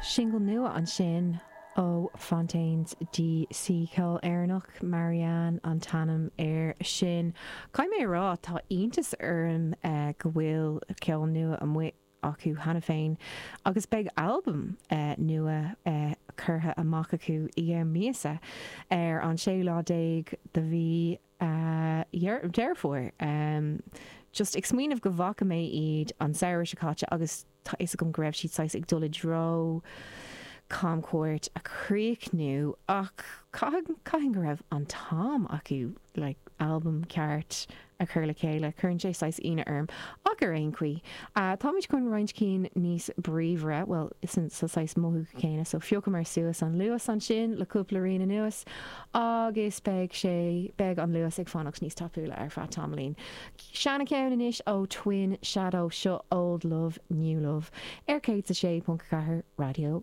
Singil nua ansin ó Fontaines DC, ceol Éireannach, Marianne an t-ainm air sin. Caithfidh mé a rá, tá iontas orm go bhfuil ceol nua amuigh acu cheana féin agus beidh albam nua curtha amach acu i gceann míosa, ar an séú lá déag de mhí Deireadh Fómhair. Just ag smaoineamh go bhfaca mé iad an samhradh seo caite agus tá fhios agam go raibh siad saghas ag dul i dtreo camchuairt a chríochnú ach caithfidh go raibh an t-am acu like albam ceart a chur le chéile. Cuireann sé saghas ionadh orm. Ach ar aon chaoi, táimid chun roinnt cinn níos bríomhaire, bhuel, sa saghas mothú céanna, so phiocamar suas an luas ansin le cúpla rian anuas agus beidh sé, beidh an luas ag fanacht níos tapúla ar feadh tamaillín. Seana-cheann anois ó Twin Shadow, seo Old Love, New Love ar 106.4 Raidió na.